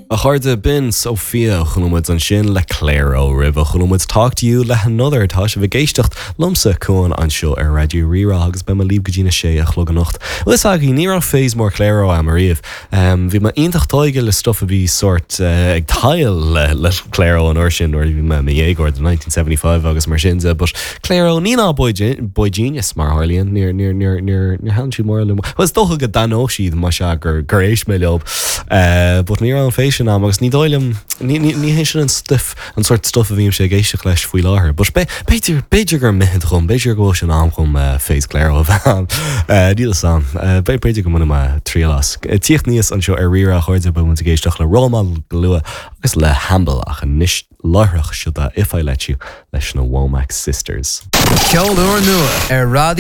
A chairde, b'in Sophia a chuala muid ansin le Clairo roimhe chuala muid Talk to You le hAnother. Tá sibh ag éisteacht liomsa, Cuan, anseo ar Raidió Rí-Rá agus beidh mé libh go dtí na sé a chlog anocht. Bhfuil fhios agaibh, ní raibh phase mór Clairo a'm ariamh. Bhí mé iontach tóigthe le stuff a bhí sórt ag tadhall le le Clairo an uair sin nuair a bhí mé i mo dhéagóir, the 1975 agus mar sin de, but Clairo, ní ná boygenius mar a tharlaíonn, níor, níor, níor, níor, níor thaitin siad mórán liom. Bhuel, is dócha go dtaitneodh siad más ea gur, gur éist mé leo, but ní raibh an phase sin a'm agus ní dóigh liom, ní, ní, ní hé sin an stuif, an sórt stuif a bhímse ag éisteacht leis faoi láthair. But b'fhéidir, b'fhéidir gur mithid dhom, b'fhéidir go bhfuil sé in am dhom phase Clairo a bheith a'm. Níl fhios a'm. B'fhéidir go mbainfidh mé triail as. Tíocht aníos anseo ar Rí-Rá a chairde, beidh muid ag éisteacht le Role Model go luath agus le Hamble ach anois láithreach seo If I Let You leis na Womack Sisters. Ceol úrnua ar Raidió.